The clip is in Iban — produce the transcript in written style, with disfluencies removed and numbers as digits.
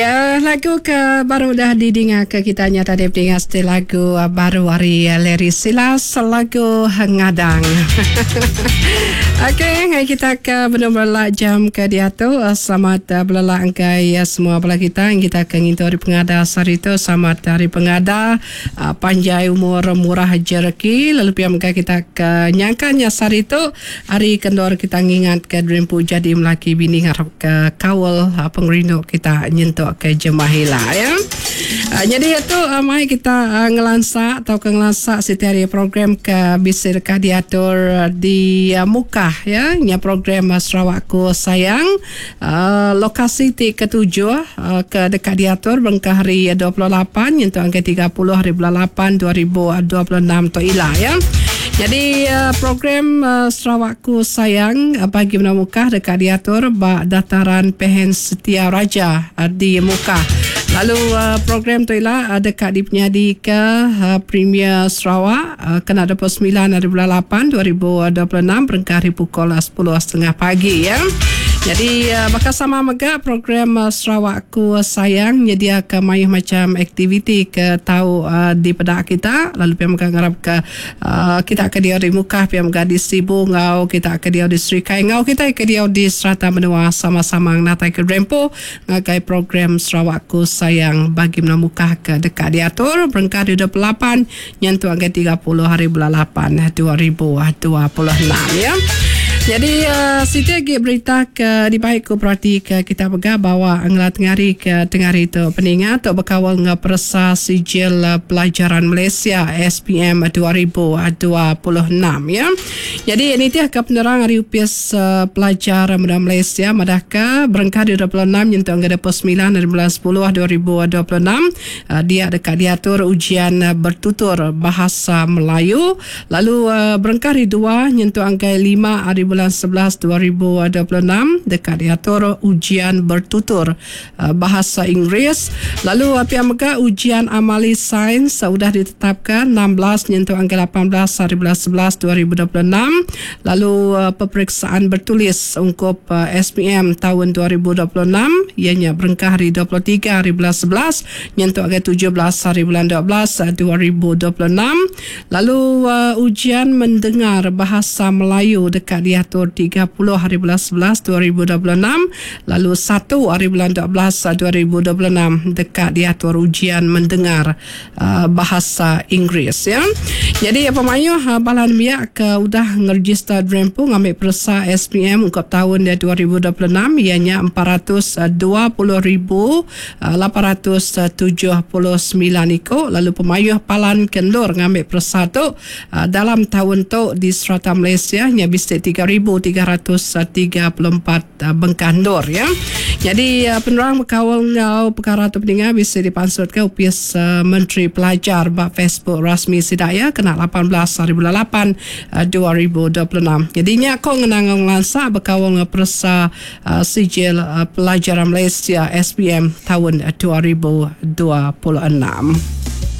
Ya, lagu ke baru udah didinga ke kita nya tadi pedinga siti lagu baru ari Larry Silas lagu Ngadang. Okey, ngai kita ke benung belelak jam ke diatu. Selamat belelak engkai semua bala kita yang kita ke ngintu hari pengada sehari tu. Selamat hari pengada, panjai umur murah jereki. Lalu pia mega kita ke nyangka nya sehari tu Ari ke endur kita ngingatka diri empu jadi melaki bini ngarapka kaul pengerindu kita nyentuk ke jemah ila ya. Nyadi tu mai kita ngelansa tauka ngelansa siti ari program ke bisi deka diatur di Mukah ya nya program Sarawakku Sayang lokasi ti ketujuh ke deka diatur berengkah hari 28 nyentuk ngagai 30 hari bulan 8 2026 tu ila ya. Nyadi program Sarawakku Sayang bagi menua Mukah deka diatur ba Dataran Pehen Setia Raja di Mukah. Lalu program tu ila deka dipenyadika Premier Sarawak kena 29 hari bulan 8 2026 berengkah ari pukul 10.30 pagi ya. Nyadi baka sama mega program Sarawakku Sayang nyediaka mayuh macham aktiviti ke tau dipeda kita lalu pia mega ngarapka Kita ke diau di Mukah pia mega di Sibu enggau kita ke diau di Serikai enggau kitai ke diau di serata menua sama-sama ngenataika diri empu ngagai program Sarawakku Sayang bagi menua Mukah ke deka diatur berengkah ari 28 nyentuk ngagai 30 hari bulan 8 2026 ya. Nyadi siti agi berita ke dibai ku peratika kita mega bawa ngela tengari ke tengari tu peninga tu bekaul enggau peresa sijil pelajaran Malaysia SPM 2026 ya. Nyadi nitihka penerang ari Opis Pelajar Menua Malaysia madahka berengkah ari 26 nyentuk ngagai 29 ari bulan 10 2026 dia deka diatur ujian bertutur Bahasa Melayu lalu berengkah ari 2 nyentuk ngagai 5 ari bulan 11 2026 deka diatur ujian bertutur Bahasa Inggeris lalu pia mega ujian amali sains udah ditetapka 16 nyentuk ngagai 18 hari bulan 11 2026 lalu peperiksaan bertulis ungkup SPM taun 2026 iya nya berengkah hari 23 hari bulan 11 nyentuk ngagai 17 hari bulan 12 2026 lalu ujian mendengar Bahasa Melayu deka diatur 30 hari bulan 11 2026 Lalu satu ari bulan 12 2026 deka diatur ujian mendengar Bahasa Inggeris ya. Nyadi pemayuh bala nembiak ke udah ngerejista diri empu ngambi peresa SPM ungkup taun 2026 iya nya 420,879 iku lalu pemayuh palan ke endur ngambi peresa tu Dalam taun tu di serata Malaysia nya bisi 3334 bengkah endur ya. Nyadi penerang bekaul enggau pekara tu peninga bisi dipansutka Opis Menteri Pelajar ba Facebook rasmi sida iya kena 18 hari bulan 8 2026. Nyadi nya ko ngena enggau ngelansa bekaul enggau peresa Sijil Pelajaran Malaysia SPM taun 2026.